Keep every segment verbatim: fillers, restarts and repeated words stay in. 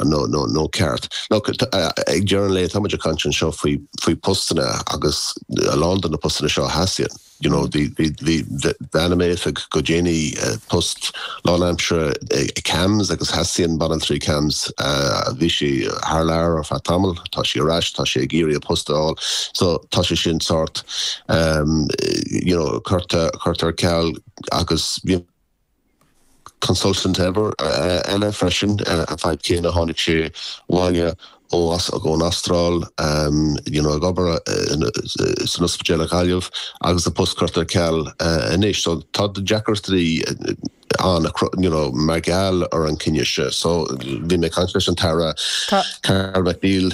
nó nó nó ceart. Ag deireadh an lae tá muid ag caint anseo faoi faoi postanna agus a lán de na postanna seo theastaíonn. You know, bhí bean i m'oifig go déanaí post lánaimseartha i CAMHS agus theastaíonn banaltraí CAMHS bhí sí thar lear ar feadh tamaill, tá sí ar ais, tá sí ag iarraidh a post a fháil, so tá sé sin sort um, you know, curtha curtha ar ceal agus bhí consultant ever eile freisin an fadhb céanna tháinig sé abhaile ó as ón Astráil um, you know, ag obair san ospidéal i Gaillimh agus a post curtha ar ceal anois, so tá deacrachtaí an you know, mar gheall ar an cinneadh seo, so bhí mé ag caint leis an tAire Carl McNeill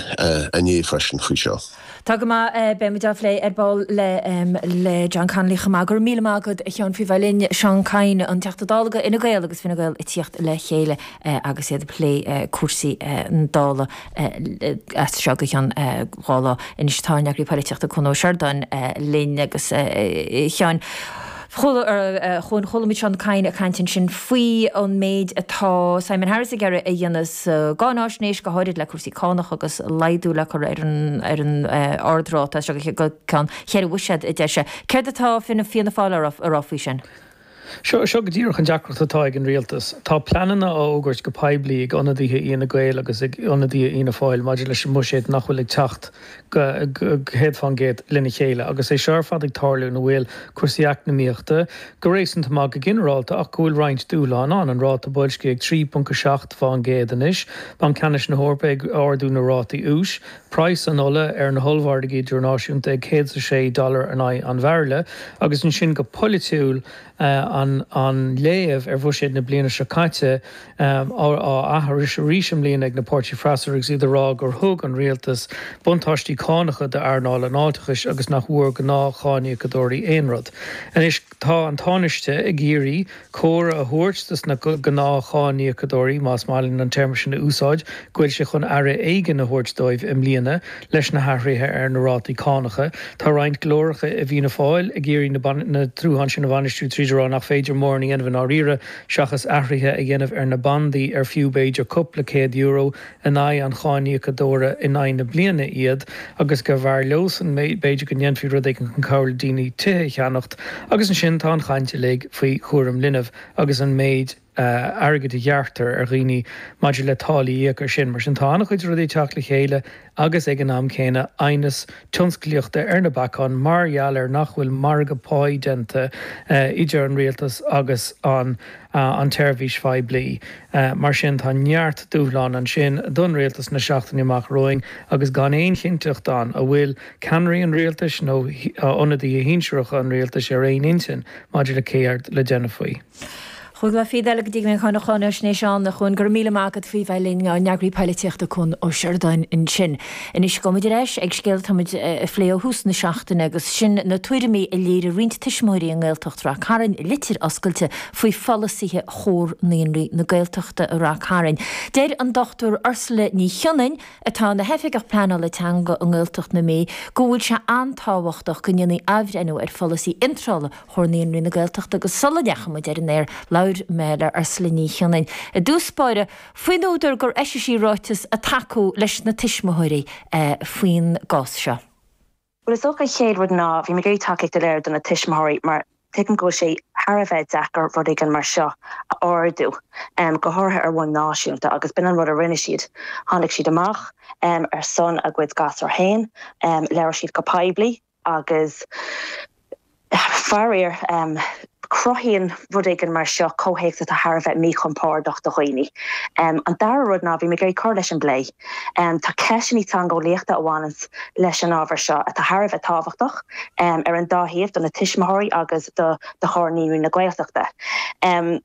inné freisin faoi seo. Tá go maith beimid á phlé ar ball le le John Connolly chomh maith go raibh míle maith agat a Sheáin faoi bheith linn Seán Kyne an Teachta Dála do Fhine Gael agus Fine Gael ag tíocht le chéile agus iad ag plé cúrsaí na Dála as seo go ceann dhá lá anois tá ár n-eagraí polaitíochta Cuan Ó Seireadáin linn agus Sheáin. Chuala muid Seán Kyne ag caint ansin faoi an méid atá Simon Harris ag iarraidh a dhéanamh sa gcáinaisnéis go háirid le cúrsaí cánach agus laghdú le cur ar an ar an ardráta seo go ceann cheithre bhuiséad a deir sé. Céard atá Fianna Fianna Fáil a rá faoi sin? Seo seo go díreach an deacracht atá ag an rialtas. Tá pleananna á fhógairt go poiblí ag ionadaithe Fhine Gael agus ag ionadaithe Fhianna Fáil maidir leis an mbuiséad nach bhfuil ag teacht go céad faoin gcéad lena chéile, agus é seo ar fad ag tarlú ina bhfuil cúrsaí eacnamaíochta go réasúnta maith go ginearálta ach go bhfuil roinnt dúshlán ann an ráta boilscithe ag trí ponc a seacht faoin gcéad anois, Banc Ceannais na hEorpa ag ardú na rátaí úis, praghas an ola ar na hollmhargaí idirnáisiúnta ag céad a sé dollar in aghaidh an bhairille, agus ansin go polaitiúil an an léamh ar bhuiséad na bliana seo caite á aithris arís i mbliana ag na páirtithe freasúra agus iad ag rá gur thug an rialtas buntáistí cánacha d'earnáil an fháilteachais agus nach bhfuair gnáthcháiníocadóirí aon rud. Anois tá an Tánaiste ag iarraidh cóir a thabhairt dos na gnáthcháiníocadóirí más maith linn an téarma sin a úsáid, go bhfuil sé chun aire éigin a thabhairt dóibh i mbliana leis na hathruithe ar na rátaí cánacha. Tá roinnt glóracha i bhFianna Fáil ag iarraidh na dúshláin sin a bhainistiú tríd rá nach féidir mórán a dhéanamh i ndáiríre seachas athruithe a dhéanamh ar na bandaí ar fiú b'fhéidir cúpla céad euro in aghaidh an cháiníocadóra in aghaidh na bliana iad agus go mb'fhearr leosan b'fhéidir go ndéanfaí rud éigin chun cabhrú le daoine tithe a cheannacht agus ansin tá an chaint uilig faoi chúram linbh agus an méid airgid a ghearrtar ar dhaoine maidir le táillí a íoc ar sin. Mar sin tá an-chuid rudaí ag teacht le chéile agus ag an am céanna aighneas tionsclaíochta ar na bacáin mar gheall ar nach bhfuil margadh páí déanta idir an rialtas agus an an tseirbhís phoiblí. Mar sin tá neart dúshlán ansin don rialtas na seachtainí amach romhainn agus gan aon chinnteacht ann an bhfuil ceannairí an rialtais nó ionadaithe shinsearacha an rialtais ar aon intinn maidir le céard le déanamh faoi. Chúig lá fichead eile go dtí go mbeidh an cháinaisnéis ann a Chuain go raibh míle maith agat faoi bheith linn ár n-eagraí polaitíochta Cuan Ó Seireadáin ansin. Anois gabhfaimid ar ais ag scéal atáimid a phlé ó thús na seachtaine agus sin na tuairimí a léirigh roinnt tuismitheoirí i nGaeltacht Ráth Cairn i litir oscailte faoi pholasaithe Chomhar Naíonraí na Gaeltachta i Ráth Cairn. Deir an Dr Ursula Ní Chionnain atá ina hoifigeach pleanála teanga i nGaeltacht na Mí go bhfuil sé an-tábhachtach go ndéanfaí athbhreithniú ar pholasaí iontrála Chomhar Naíonraí na Gaeltachta agus sula ndeachaigh muid ar an aer labhair mé le Ursula Ní Chionnain i dtús báire faoin údar gur eisigh sí ráiteas ag tacú leis na tuismitheoirí faoin gcás seo. Well is dócha an chéad rud ná bhí mé ag iarraidh tacaíocht a léiriú do na tuismitheoirí mar tuigim go bhfuil sé thar a bheith deacair rud éigin mar seo a ardú um, go háirithe ar bhonn náisiúnta agus b'in an rud a rinne siad. Tháinig siad amach um, ar son a gcuid gasúr féin, um, labhair siad go poiblí agus faraor um, cruthaíonn rud éigin mar seo comhthéacs atá thar a bheith míchompordach do dhaoine. Um, an dara rud ná bhí mé ag cur leis an bplé. Um, tá ceisteanna teangeolaíochta a bhaineann leis an ábhar seo atá thar a bheith tábhachtach um, ar an dá thaobh do na tuismitheoirí agus do do Chomhar Naíonraí na Gaeltachta. Um,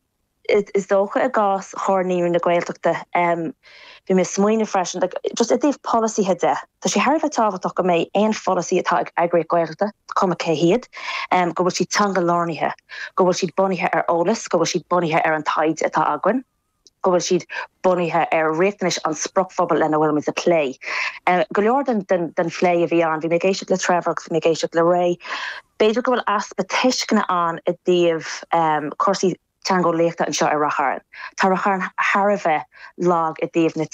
is dócha i gcás Chomhar Naíonraí na Gaeltachta um, Bhí mé ag smaoineamh freisin just i dtaobh polasaithe de. Tá sé thar a bheith tábhachtach go mbeidh aon pholasaí atá ag eagraíocht Gaeltachta cuma cé hiad, um, go bhfuil siad teanga-lárnaithe, go bhfuil siad bunaithe ar eolas, go bhfuil siad bunaithe ar an taighde atá againn, go bhfuil siad bunaithe ar riachtanais an spriocphobal lena bhfuil ag plé. Uh, go leor den, den, den phlé a bhí ann, bhí mé ag éisteacht le Trevor agus bhí mé ag éisteacht le Ray. B'fhéidir go bhfuil easpa tuisceana ann i dtaobh um, cúrsaí teangeolaíochta anseo i Ráth Chairn. Tá Ráth Chairn thar a bheith lag i dtaobh na